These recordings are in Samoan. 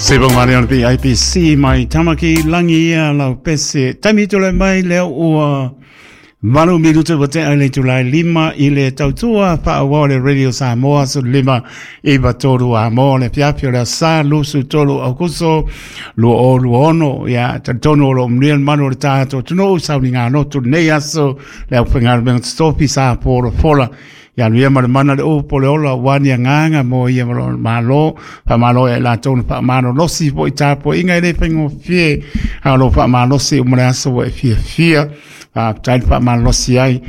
Se bonga le ona PIPC mai Tamaki Langi ia lau pese. Taimi tole mai lea ua 8 minuta ua tea i le itula e 5 i le tautua faaauau le Radio Samoa 15 9 3 a mo le afiafi o le aso Sa 23 Aokuso 2026. Ia, talitonu o lo o manuia le malu o le tatou atunuu i sauniga lotu lenei aso le aufaigaluega totofi sa folafola. Ia alu ia ma le mana le upu o le ola aua ni agaga mo ia ma lona Malo. Faamalo ia i latou na faamalolosi foi tapuaiga e le faigofie, a o lo o faamalosi uma le aso ua e fiafia. Faafetai le faamalolosi ai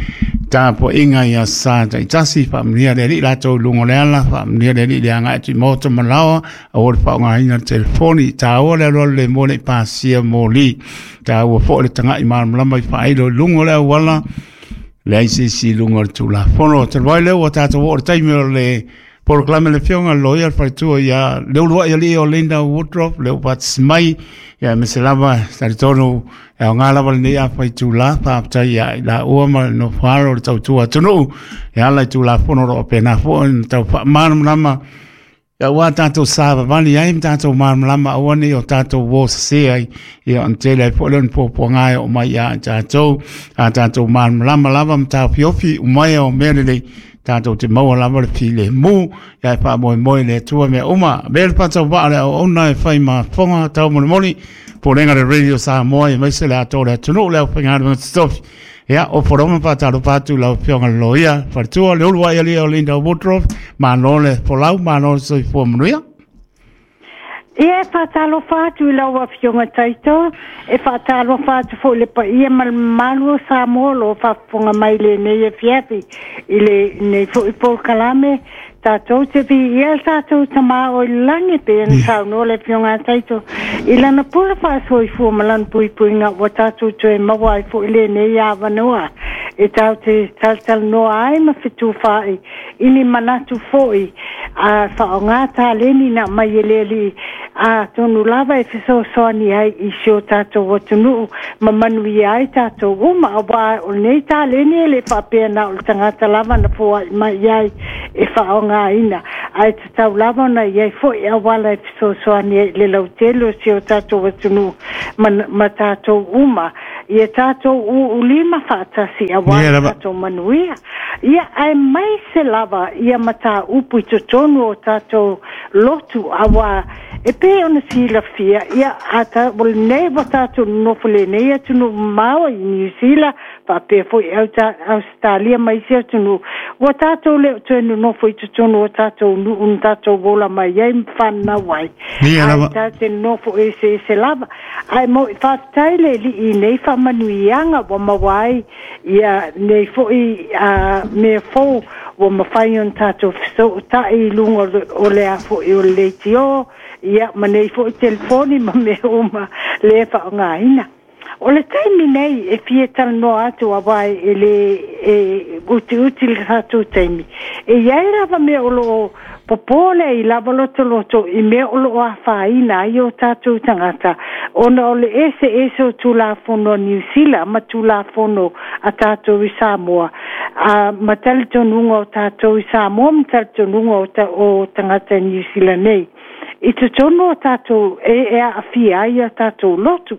tapuaiga i aso Sa taitasi. Faamanuia le Alii latou i luga o le ala, faamanuia le Alii i le agai atu i maota ma laoa, aua le faaaogaina le telefoni. Taua le alualu le moa ne i pasia moli. Taua foi le tagai malamalama i faailo i luga o le auala, leai se isi i luga o le Tulafono. Talu ai lea ua tatou oo i le taimi o le polokalame a le Afioga i le Loia le Faletua ia Leuluai Alii o Linda Woodruff, lea ua faatasi mai, ia aemaise lava talitonu e aoga lava lenei afa itula. Faafetai ia i laua ma le nofo alo o le tautua atunuu e ala i Tulafono o lo o faapena foi ona tau faamalamalama aua tatou savavali ai ma tatou malamalama aua ne i o tatou uo sese ai, ia ona tele ai foi lea o ni puapuaga e oo mai ia i tatou. A tatou malamalama lava ma taofiofi uma o mea lelei, tatou te maua lava le filemu, ia e faamoemoe i le Atua mea uma. Avea le faatauvaa o le auauna e fai ma fofoga taumolimoli, Pulega le Radio Samoa aemaise le atoa o le atunuu, le aufaigaluega totofi. Ia, o Foroma faatalofa atu i lau Afioga i le Loia Faletua, Leuluai Alii o Linda Woodruff, malo le folau, malo le soifua manuia. Ia, e faatalofa atu i lau Afioga Taito, e faatalofa atu foi i le paia ma le mamalu o Samoa o lo o faafofoga mai i lenei afiafi i lenei foi polokalame. Tatou te viia le tatou Tama o i le lagi, pei ona saunoa le Afioga a Taito i lana pule faasoifua ma lana puipuiga ua tatou toe maua ai foi lenei avanoa e tatou te talatalanoa ai ma fetufaai i ni manatu foi a faaaoga taleni na aumai e le Alii, atonu lava e fesoasoani ai i si o tatou atunuu ma manuia ai tatou uma, aua o lenei taleni e le faapea na o le tagata lava na foai mai i ai e faaaogaina, ae tatau lava ona i ai foi auala e fesoasoani ai i le lautele o si o tatou atunuu ma, ma tatou uma, ia tatou uulima faatasi aua le tatou manuia. Ia, aemaise lava ia mataupu i totonu o tatou lotu, aua e pei ona silafia, ia, a ta, o lenei ua tatou nonofo i lenei atunuu mamao i Niu Sila, faapea foi Ausetalia ma isi atunuu, ua tatou le o toe nonofo i totonu o tatou nuu na tatou ola mai ai ma fananau ai, ae tatou te nonofo eseese lava. Ae mo, faafetai le Alii i nei faamanuiaga ua maua ai ia nei foi mea fou ua mafai ona tatou fesootai i luga o le a foi o le leitio, ia, ma nei foi telefoni ma mea uma lea e faaaogaina. O le taimi nei e fia talanoa atu aua e le e utiuti le tatou taimi, e i ai lava mea o lo o popole ai lava lotoloto i mea o lo o afaina ai o tatou tagata ona o le eseese o Tulafono a Niu Sila ma Tulafono a tatou i Samoa, a ma talitonuga o tatou i Samoa ma talitonuga o, ta, o tagata i Niu Sila nei. I totonu o tatou e, e aafia ai a tatou lotu.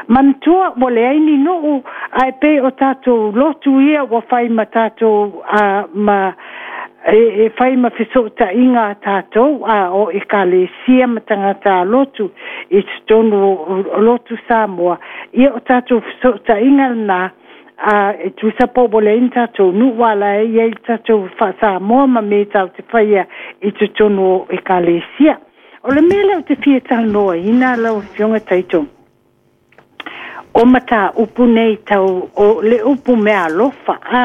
Manatua ua leai ni nuu, ae pei o tatou lotu ia ua fai ma tatou a, ma e, e fai ma fesootaiga a tatou a o ekalesia ma tagata a lotu i totonu o, o lotu Samoa, ia o tatou fesootaiga lena a e tusa po ua leai ni tatou nuu a la e i ai le tatou faa-Samoa ma me tatou te faia i totonu o ekalesia. O le mea lea ou te fia talanoaina lau Afioga Taito, o mataupu nei tau o le upu meaalofa, a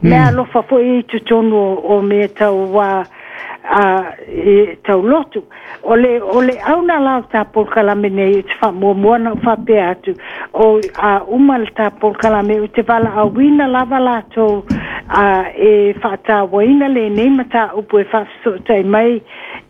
meaalofa foi i totonu o, o mea tau a, a, e, tau lotu. O le, o le auna la o ta polokalame nei, ou te faamuamua ona ou faapea atu, o a uma le ta polokalame, ou te valaauina lava latou a, e faatauaina lenei mataupu e faafesootai mai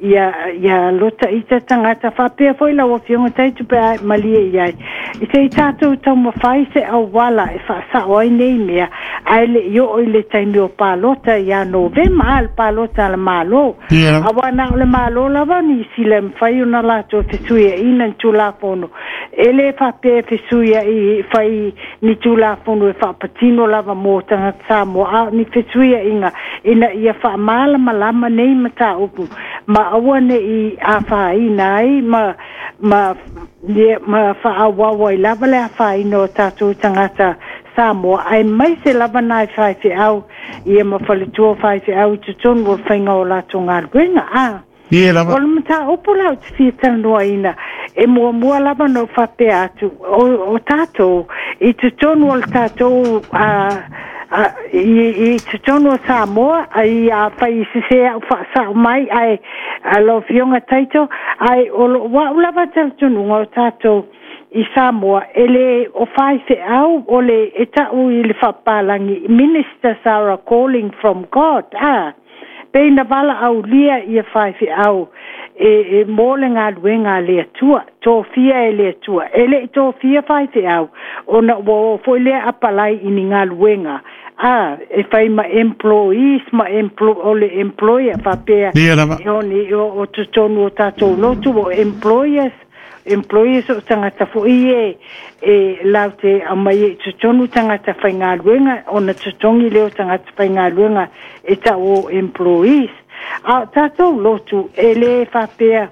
ia, ia lota ita tagata, faapea foi lau Afioga Taitu pe a e malie i ai. I se i tatou taumafai se auala e faasao ai nei mea, Ae le'i oo i le taimi o palota ia Novema, a le palota a le Malo. Auā na o le Malo lava o Nisila e mafai ona latou fesuiaʻina ni Tulafono. E lē faapea e fesuiaʻi fai ni Tulafono e faapatino lava mo tagata Samoa, a o ni fesuiaʻiga ina ia faamalamalama nei mataupu ma aua neʻi afaina ai ma ma ma faaauau ai lava le afaina o tatou tagata Samoa, aemaise lava nai faifeau ia ma faletua faifeau i totonu o le faiga o latou galuega. A Ie lava. O le mataupu la ou te fia talanoaina, e muamua lava ona ou faapea atu, o tatou i totonu o le tatou a, a, i totonu o Samoa, ai afai i sese au faasao mai, ae lau Afioga Taito, ae o lou au lava talitonuga o tatou i Samoa, e le o faifeau o le e ta'u i le faapapalagi, ministers are a calling from God, a pei na valaaulia ia faifeau e mo le galuega a le Atua, tofia e le Atua. E le'i tofia faifeau ona ua o foi lea apalai i ni galuega a e fai ma employees ma o le employer faapea. Ia lava. E oni o totonu o tatou lotu o employers, employers o tagata foi e laute aumai i totonu tagata faigaluega ona totogi lea o tagata faigaluega e ta'u o employees. A o tatou lotu e lē faapea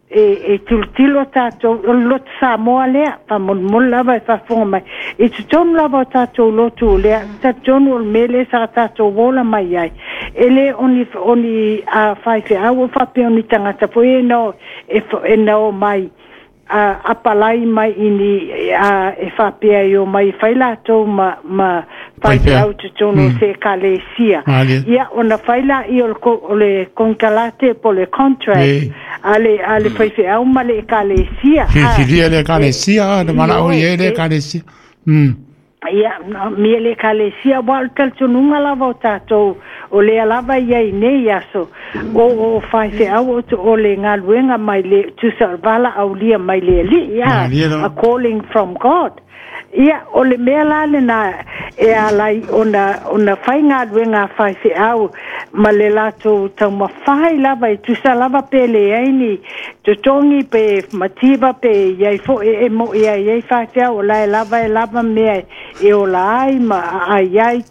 e tilotilo tatou o le lotu Samoa lea, faamolemole lava e faafofoga mai i totonu lava o tatou lotu lea, talitonu o le mea lea sa tatou ola mai ai, e lē oni a faifeau o faapea o ni tagata foi e na e na mai apalai mai i ni e faapea e omai e fai latou ma faifeau totonu o se ekalesia. Ia ona fai laia o le konekarate po o le contract a le faifeau ma le ekalesia. Filifilia le ekalesia, na valaau i ai le ekalesia. Ia, mia le ekalesia, ua o le talitonuga lava o tatou, o lea lava ia i nei aso, o faifeau o le galuega mai le tusa o le valaaulia mai le Alii, a calling from God. Ia, o le mea la lena e alai ona fai galuega a faifeau ma le latou taumafai lava e tusa lava pe leai ni totogi pe mativa pe iai foi e mo'i ai ai faifeau o la e lava e lava mea e ola ai ma aai ai.